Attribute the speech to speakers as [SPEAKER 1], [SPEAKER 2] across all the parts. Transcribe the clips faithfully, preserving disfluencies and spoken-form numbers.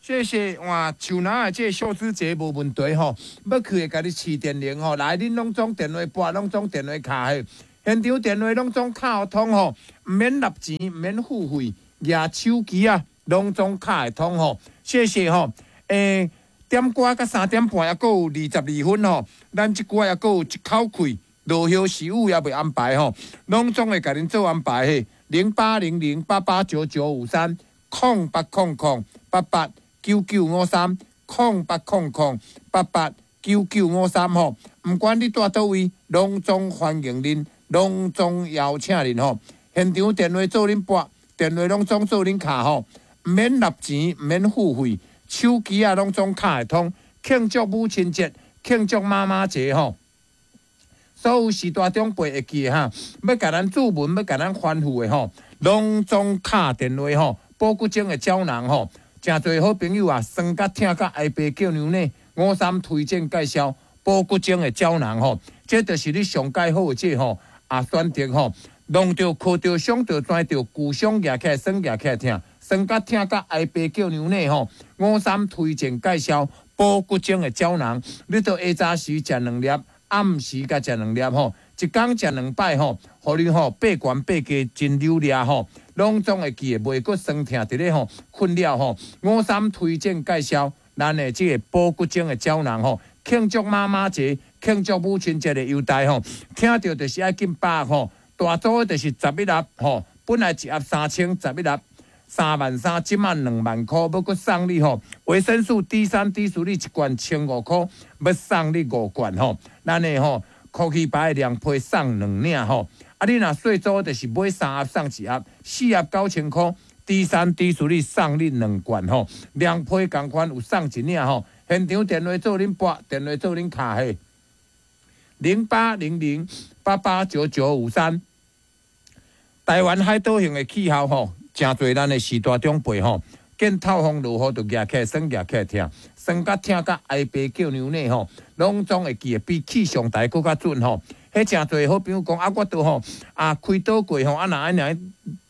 [SPEAKER 1] 謝謝哇，樹林的這個秀枝節無問題吼，欲去會共你飼電鈴吼，來恁攏總電話撥，攏總電話敲嘿，現場電話攏總敲通吼，毋免納錢，毋免付費，舉手機啊，攏總敲會通吼，謝謝吼，欸，點歌到三點半，猶閣有二十二分吼，咱這久猶閣有一口氣，落雨時雨也袂安排吼，攏總會共恁做安排嘿，零八零零八八九九五三，空八空空八八九九五三，空八空空八八九九五三吼，毋管你蹛佗位，攏總歡迎恁，攏總邀請恁吼。現場電話做恁撥，電話攏總做恁敲吼，毋免納錢，毋免付費，手機啊攏總敲會通。慶祝母親節，慶祝媽媽節吼。所有序大長輩會記得哈，欲共咱注文，欲共咱吩咐的吼，攏總敲電話吼，補骨精的膠囊吼。誠濟好朋友啊，酸甲疼甲哀爸叫娘呢，五三推薦介紹補骨精的膠囊吼，這就是你上蓋好的這吼啊選擇吼，弄著、磕著、傷著、鑽著、舊傷舉起來，酸舉起來疼，酸甲疼甲哀爸叫娘呢吼，五三推薦介紹補骨精的膠囊，你著下早時食兩粒，暗時閣食兩粒吼，一工食兩擺吼，予你吼爬懸爬低真溜掠吼。攏總會記得，袂閣酸痛佇咧吼困擾吼。五三推薦介紹咱的這個補骨精的膠囊吼，慶祝媽媽節、慶祝母親節的優待吼，聽著就是愛緊把握吼。大組的就是十一盒吼，本來一盒三千，十一盒三萬三，這馬兩萬箍，欲閣送你吼。維生素 D 三、D 四，你一罐千五箍，欲送你五罐吼。咱的吼，科技牌的涼皮送兩領吼。啊，你若細組就是買三盒送一盒，四盒九千箍，D 三 D 四你送你兩罐吼，涼皮仝款有送一領吼。現場電話做恁撥，電話做恁敲嘿，零八零零八八九九五三。台灣海島型的氣候吼，誠濟咱的序大長輩吼，見透風落雨就舉起來酸，舉起來疼，酸甲疼甲哀爸叫娘呢吼，攏總會記得比氣象台閣較準吼。彼誠濟好朋友講啊，我都吼啊開刀過吼，啊若按呢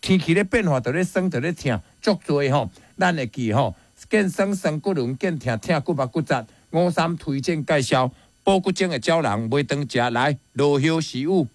[SPEAKER 1] 天氣咧變化，就咧酸，就咧疼，足濟吼。咱會記吼，見酸酸骨輪，見疼疼骨目骨節。五三推薦介紹補骨精的膠囊，買當食來落雨時雨。